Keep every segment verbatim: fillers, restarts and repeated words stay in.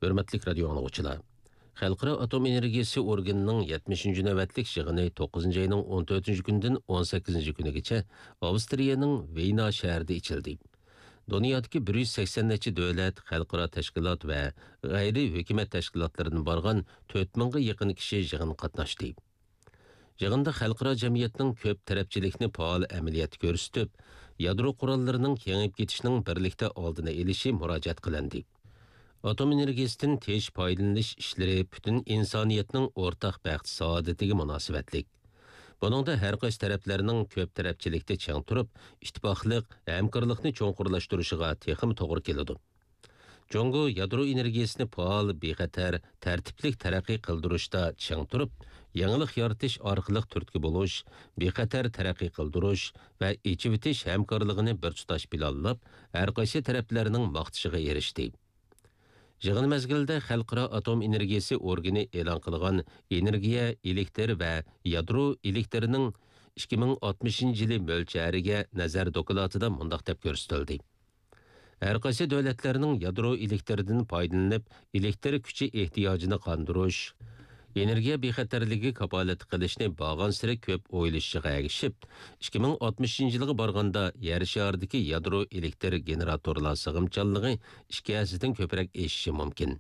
ھۆرمەتلىك رادىيو ئاڭلىغۇچىلار! خەلقئارا ئاتوم ئېنېرگىيىسى ئورگىنىنىڭ يەتمىشىنچى نۆۋەتلىك يىغىنى توققۇزىنچى ئاينىڭ ئون تۆتىنچى كۈنىدىن ئون سەككىزىنچى كۈنىگىچە ئاۋسترىيەنىڭ ۋېينا شەھىرىدە ئېچىلدى. دۇنيادىكى بىر يۈز سەكسەن نەچچە دۆلەت، خەلقئارا تەشكىلات ۋە غەيرىي ھۆكۈمەت تەشكىلاتلىرىدىن بارغان تۆت مىڭغا يېقىن كىشى يىغىنغا قاتناشتى. يىغىندا خەلقئارا جەمئىيەتنىڭ كۆپ تەرەپچىلىكنى پائال ئەمەلىيەتتە كۆرسىتىپ، يادرو قوراللىرىنىڭ كېڭىيىپ كېتىشىنىڭ بىرلىكتە ئالدىنى ئېلىشى مۇراجىئەت قىلىندى. ئاتوم ئېنېرگىيىسىدىن تىنچ پايدىلىنىش ئىشلىرى پۈتۈن ئىنسانىيەتنىڭ ئورتاق بەخت-سائادىتىگە مۇناسىۋەتلىك. بۇنىڭدا ھەر قايسى تەرەپلەرنىڭ كۆپ تەرەپچىلىكتە چىڭ تۇرۇپ، ئىتتىپاقلىق، ھەمكارلىقنى چوڭقۇرلاشتۇرۇشىغا تېخىمۇ توغرا كېلىدۇ. جۇڭگو يادرو ئېنېرگىيىسىنى پائال، بىخەتەر، تەرتىپلىك تەرەققىي قىلدۇرۇشتا چىڭ تۇرۇپ، يېڭىلىق يارىتىش ئارقىلىق تۈرتكە بولۇش، بىخەتەر تەرەققىي قىلدۇرۇش ۋە ئېچىۋېتىش ھەمكارلىقىنى بىر تۇتاش پىلانلاپ، ھەر قايسى تەرەپلەرنىڭ ماختىشىغا ئېرىشتى. يىغىن مەزگىلىدە خەلقئارا ئاتوم ئېنېرگىيىسى ئورگىنى ئېلان قىلغان ئېنېرگىيە، ئېلېكتر ۋە يادرو ئېلېكتىرىنىڭ ئىككى مىڭ ئاتمىشىنچى يىلى مۆلچەرىگە نەزەر دوكلاتىدا مۇنداق دەپ كۆرسىتىلدى: ھەر قايسى دۆلەتلەرنىڭ يادرو ئېلېكتىرىدىن پايدىلىنىپ، ئېلېكتىر كۈچى ئېھتىياجىنى قاندۇرۇش، ئېنېرگىيە بىخەتەرلىكى كاپالەتلىك قىلىشنى بارغانسېرى كۆپ ئويلىشىشىغا ئەگىشىپ، ئىككى مىڭ ئاتمىشىنچى يىلغا بارغاندا يەر شارىدىكى يادرو ئېلېكتىر گېنېراتورلار سىغىمچانلىقى ئىككى ھەسسىدىن كۆپرەك ئېشىشى مۇمكىن.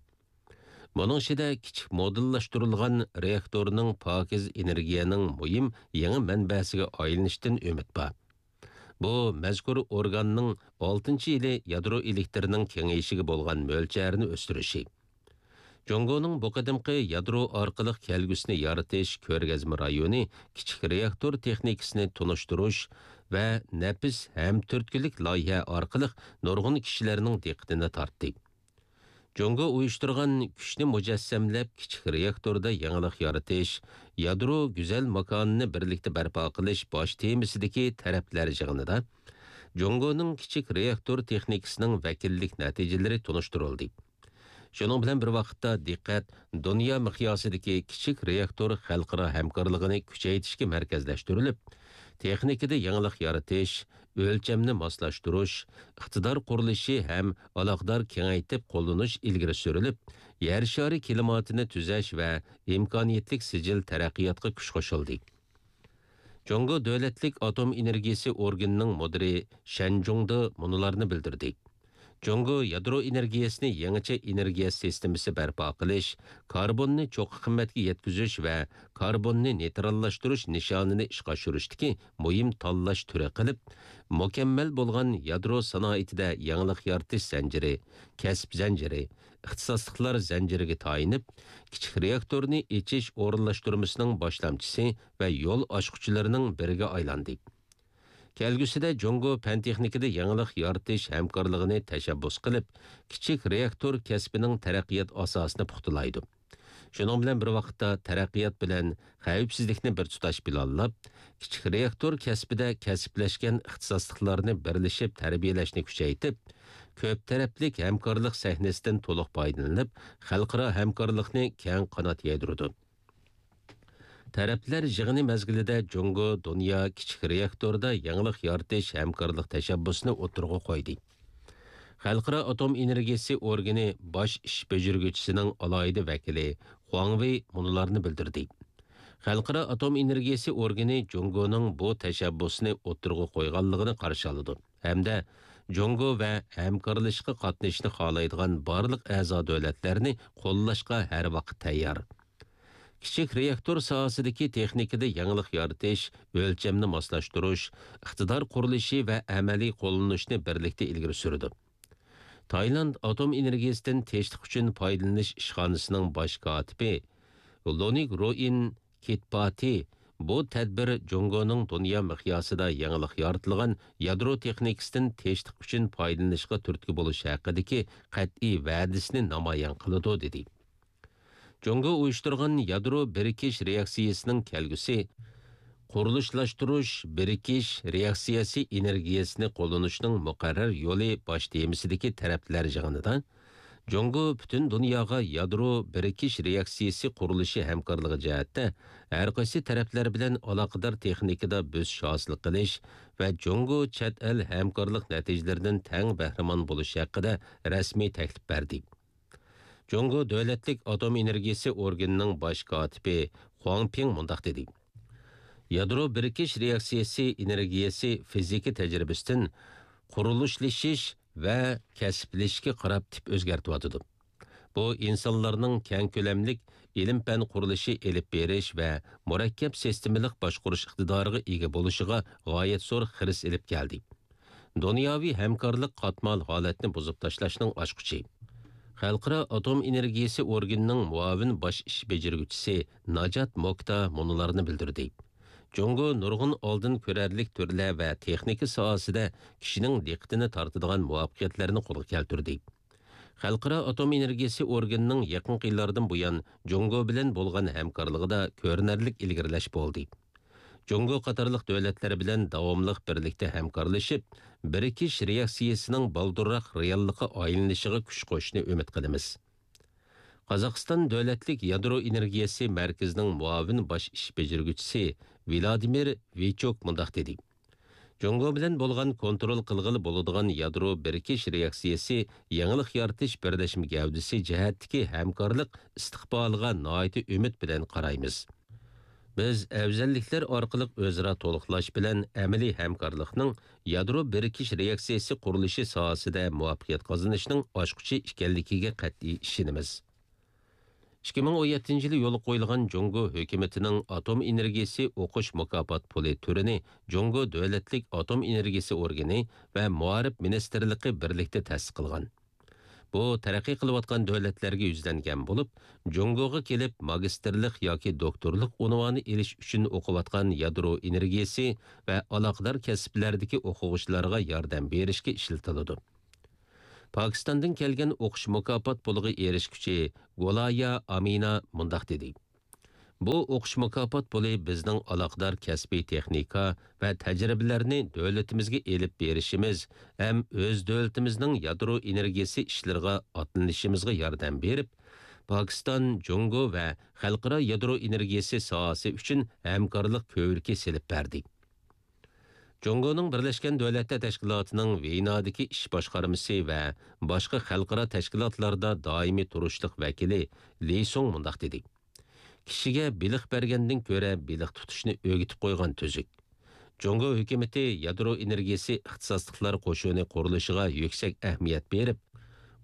بۇنىڭ ئىچىدە كىچىك مودېللاشتۇرۇلغان رېئاكتورنىڭ پاكىز ئېنېرگىيەنىڭ مۇھىم يېڭى مەنبەسىگە ئايلىنىشىدىن ئۈمىد بار. بۇ مەزكۇر ئورگاننىڭ ئالتىنچى يىلى يادرو ئېلېكتىرىنىڭ كېڭىيىشىگە بولغان مۆلچەرنى ئۆستۈرۈشى. جۇڭگونىڭ بۇ قېتىمقى يادرو ئارقىلىق كەلگۈسىنى يارىتىش كۆرگەزمە رايونى كىچىك رېئاكتور تېخنىكىسىنى تونۇشتۇرۇش ۋە نەپىس ھەم تۈرتكىلىك لايىھە ئارقىلىق نۇرغۇن كىشىلەرنىڭ دىققىتىنى تارتتى. جۇڭگو ئۇيۇشتۇرغان كۈچنى مۇجەسسەملەپ، كىچىك رېئاكتوردا يېڭىلىق يارىتىش، يادرو گۈزەل ماكانىنى بىرلىكتە بەرپا قىلىش باش تېمىسىدىكى تەرەپلەر يىغىنىدا جۇڭگونىڭ كىچىك رېئاكتور تېخنىكىسىنىڭ ۋەكىللىك نەتىجىلىرى تونۇشتۇرۇلدى. شۇنىڭ بىلەن بىر ۋاقىتتا، دىققەت دۇنيا مىقياسىدىكى كىچىك رېئاكتور خەلقئارا ھەمكارلىقىنى كۈچەيتىشكە مەركەزلەشتۈرۈلۈپ، تېخنىكىدا يېڭىلىق يارىتىش، ئۆلچەمنى ماسلاشتۇرۇش، ئىقتىدار قۇرۇلۇشى ھەم ئالاقىدار كېڭەيتىپ قوللىنىش ئىلگىرى سۈرۈلۈپ، يەر شارى كىلىماتىنى تۈزەش ۋە ئىمكانىيەتلىك سىجىل تەرەققىياتقا كۈچ قوشۇلدى. جۇڭگو دۆلەتلىك ئاتوم ئېنېرگىيىسى ئورگىنىنىڭ مۇدىرى شەن جۇڭدې مۇنۇلارنى بىلدۈردى: جۇڭگو يادرو ئېنېرگىيەسىنى يېڭىچە ئېنېرگىيە سىستېمىسى بەرپا قىلىش، كاربوننى چوققا قىممەتكە يەتكۈزۈش ۋە كاربوننى نېيتراللاشتۇرۇش نىشانىنى ئىشقا ئاشۇرۇشتىكى مۇھىم تاللاش تۈرى قىلىپ، مۇكەممەل بولغان يادرو سانائىتىدە يېڭىلىق يارىتىش زەنجىرى، كەسىپ زەنجىرى، ئىختىساسلىقلار زەنجىرىگە تايىنىپ، كىچىك رېئاكتورنى ئېچىش ئورۇنلاشتۇرمىسىنىڭ باشلامچىسى ۋە يول ئاچقۇچىلىرىنىڭ بىرىگە ئايلاندى. كەلگۈسىدە جۇڭگو پەن-تېخنىكىدا يېڭىلىق يارىتىش ھەمكارلىقىنى تەشەببۇس قىلىپ، كىچىك رېئاكتور كەسپىنىڭ تەرەققىيات ئاساسىنى پۇختىلايدۇ. شۇنىڭ بىلەن بىر ۋاقىتتا، تەرەققىيات بىلەن خەۋپسىزلىكنى بىر تۇتاش پىلانلاپ، كىچىك رېئاكتور كەسپىدە كەسىپلەشكەن ئىختىساسلىقلارنى بىرلىشىپ تەربىيەلەشنى كۈچەيتىپ، كۆپ تەرەپلىك ھەمكارلىق سەھنىسىدىن تولۇق پايدىلىنىپ، خەلقئارا ھەمكارلىقنى كەڭ قانات يايدۇرىدۇ. تەرەپلەر يىغىنى مەزگىلىدە جۇڭگو دۇنيا كىچىك رېئاكتوردا يېڭىلىق يارىتىش ھەمكارلىق تەشەببۇسىنى ئوتتۇرىغا قويدى. خەلقئارا ئاتوم ئېنېرگىيىسى ئورگىنى باش ئىش بېجىرگۈچىسىنىڭ ئالاھىدە ۋەكىلى خۇاڭ ۋېي مۇنۇلارنى بىلدۈردى: خەلقئارا ئاتوم ئېنېرگىيىسى ئورگىنى جۇڭگونىڭ بۇ تەشەببۇسىنى ئوتتۇرىغا قويغانلىقىنى قارشى ئالىدۇ ھەمدە جۇڭگو ۋە ھەمكارلىشىشقا قاتنىشىشنى خالايدىغان بارلىق ئەزا دۆلەتلەرنى قوللاشقا ھەر ۋاقىت تەييار. كىچىك رېئاكتور ساھەسىدىكى تېخنىكىدا يېڭىلىق يارىتىش، ئۆلچەمنى ماسلاشتۇرۇش، ئىقتىدار قۇرۇلۇشى ۋە ئەمەلىي قوللىنىشنى بىرلىكتە ئىلگىرى سۈرىدۇ. تايلاند ئاتوم ئېنېرگىيىسىدىن تىنچلىق ئۈچۈن پايدىلىنىش ئىشخانىسىنىڭ باش كاتىپى لونىك روئىن كىتپاتى بۇ تەدبىر جۇڭگونىڭ دۇنيا مىقياسىدا يېڭىلىق يارىتىلغان يادرو تېخنىكىسىدىن تىنچلىق ئۈچۈن پايدىلىنىشقا تۈرتكە بولۇش ھەققىدىكى قەتئىي ۋەدىسىنى نامايان قىلىدۇ، دېدى. جۇڭگو ئۇيۇشتۇرغان يادرو بىرىكىش رېئاكسىيىسىنىڭ كەلگۈسى، قۇرۇلۇشلاشتۇرۇش، بىرىكىش رېئاكسىيەسى ئېنېرگىيەسىنى قوللىنىشنىڭ مۇقەررەر يولى باش تېمىسىدىكى تەرەپلەر يىغىنىدا، جۇڭگو پۈتۈن دۇنياغا يادرو بىرىكىش رېئاكسىيەسى قۇرۇلۇشى ھەمكارلىقى جەھەتتە ھەر قايسى تەرەپلەر بىلەن ئالاقىدار تېخنىكىدا بۆسۈش ھاسىل قىلىش ۋە جۇڭگو چەت ئەل ھەمكارلىق نەتىجىلىرىدىن تەڭ بەھرىمەن بولۇش ھەققىدە رەسمىي تەكلىپ بەردى. جۇڭگو دۆلەتلىك ئاتوم ئېنېرگىيىسى ئورگىنىنىڭ باش كاتىپى خۇاڭ پىڭ مۇنداق دېدى: يادرو بىرىكىش رېئاكسىيەسى ئېنېرگىيەسى فىزىكا تەجرىبىسىدىن قۇرۇلۇشلىشىش ۋە كەسىپلىشىشكە قاراپ تىپ ئۆزگەرتىۋاتىدۇ. بۇ ئىنسانلارنىڭ كەڭ كۆلەملىك ئىلىم-پەن قۇرۇلۇشى ئېلىپ بېرىش ۋە مۇرەككەپ سىستېمىلىق باشقۇرۇش ئىقتىدارىغا ئىگە بولۇشىغا غايەت زور خىرىس ئېلىپ كەلدى. دۇنياۋى ھەمكارلىق قاتمال ھالەتنى بۇزۇپ تاشلاشنىڭ ئاچقۇچى. خەلقئارا ئاتوم ئېنېرگىيىسى ئورگىنىنىڭ مۇئاۋىن باش ئىش بېجىرگۈچىسى ناجات موكتا مۇنۇلارنى بىلدۈردى: جۇڭگو نۇرغۇن ئالدىن كۆرەرلىك تۈرلەر ۋە تېخنىكا ساھەسىدە كىشىنىڭ دىققىتىنى تارتىدىغان مۇۋەپپەقىيەتلەرنى قولغا كەلتۈردى. خەلقئارا ئاتوم ئېنېرگىيىسى ئورگىنىنىڭ يېقىنقى يىللاردىن بۇيان جۇڭگو بىلەن بولغان ھەمكارلىقىدا كۆرۈنەرلىك ئىلگىرىلەش بولدى. جۇڭگو قاتارلىق دۆلەتلەر بىلەن داۋاملىق بىرلىكتە ھەمكارلىشىپ، بىرىكىش رېئاكسىيەسىنىڭ بالدۇرراق رېئاللىققا ئايلىنىشىغا كۈچ قوشۇشنى ئۈمىد قىلىمىز. قازاقىستان دۆلەتلىك يادرو ئېنېرگىيەسى مەركىزىنىڭ مۇئاۋىن باش ئىش بېجىرگۈچىسى ۋلادىمىر ۋىچوك مۇنداق دېدى: جۇڭگو بىلەن بولغان كونترول قىلغىلى بولىدىغان يادرو بىرىكىش رېئاكسىيەسى يېڭىلىق يارىتىش بىرلەشمە گەۋدىسى جەھەتتىكى ھەمكارلىق ئىستىقبالىغا ناھايىتى ئۈمىد بىلەن قارايمىز. بىز ئەۋزەللىكلەر ئارقىلىق ئۆزئارا تولۇقلاش بىلەن ئەمەلىي ھەمكارلىقنىڭ يادرو بىرىكىش رېئاكسىيەسى قۇرۇلۇشى ساھەسىدە مۇۋەپپەقىيەت قازىنىشنىڭ ئاچقۇچى ئىكەنلىكىگە قەتئىي ئىشىنىمىز. ئىككى مىڭ ئون يەتتىنچى يىلى يولغا قويۇلغان جۇڭگو ھۆكۈمىتىنىڭ ئاتوم ئېنېرگىيىسى ئوقۇش مۇكاپات پۇلى تۈرىنى جۇڭگو دۆلەتلىك ئاتوم ئېنېرگىيىسى ئورگىنى ۋە مائارىپ مىنىستىرلىقى بىرلىكتە تەسىس قىلغان. بۇ تەرەققىي قىلىۋاتقان دۆلەتلەرگە يۈزلەنگەن بولۇپ، جۇڭگوغا كېلىپ ماگىستىرلىق ياكى دوكتورلۇق ئۇنۋانى ئېلىش ئۈچۈن ئوقۇۋاتقان يادرو ئېنېرگىيىسى ۋە ئالاقىدار كەسىپلەردىكى ئوقۇغۇچىلارغا ياردەم بېرىشكە ئىشلىتىلىدۇ. پاكىستاندىن كەلگەن ئوقۇش مۇكاپات پۇلىغا ئېرىشكۈچى گولايا ئامىنا مۇنداق دېدى: بۇ ئوقۇش مۇكاپات پۇلى بىزنىڭ ئالاقىدار كەسپىي تېخنىكا ۋە تەجرىبىلەرنى دۆلىتىمىزگە ئېلىپ بېرىشىمىز ھەم ئۆز دۆلىتىمىزنىڭ يادرو ئېنېرگىيىسى ئىشلىرىغا ئاتلىنىشىمىزغا ياردەم بېرىپ، پاكىستان، جۇڭگو ۋە خەلقئارا يادرو ئېنېرگىيىسى ساھەسى ئۈچۈن ھەمكارلىق كۆۋرۈكى سېلىپ بەردى. جۇڭگونىڭ بىرلەشكەن دۆلەتلەر تەشكىلاتىنىڭ ۋېينادىكى ئىش باشقارمىسى ۋە باشقا خەلقئارا تەشكىلاتلاردا دائىمىي تۇرۇشلۇق ۋەكىلى لى سۇڭ مۇنداق دېدى: كىشىگە بېلىق بەرگەندىن كۆرە بېلىق تۇتۇشنى ئۆگىتىپ قويغان تۈزۈك. جۇڭگو ھۆكۈمىتى يادرو ئېنېرگىيىسى ئىختىساسلىقلار قوشۇنى قۇرۇلۇشىغا يۈكسەك ئەھمىيەت بېرىپ،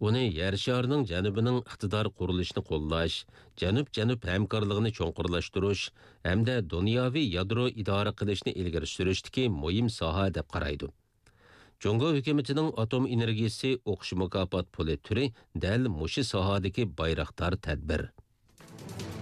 ئۇنى يەر شارىنىڭ جەنۇبىنىڭ ئىقتىدار قۇرۇلۇشىنى قوللاش، جەنۇب-جەنۇب ھەمكارلىقىنى چوڭقۇرلاشتۇرۇش ھەمدە دۇنياۋى يادرو ئىدارە قىلىشنى ئىلگىرى سۈرۈشتىكى مۇھىم ساھە دەپ قارايدۇ. جۇڭگو ھۆكۈمىتىنىڭ ئاتوم ئېنېرگىيىسى ئوقۇش مۇكاپات پۇلى تۈرى دەل مۇشۇ ساھەدىكى بايراقدار تەدبىر.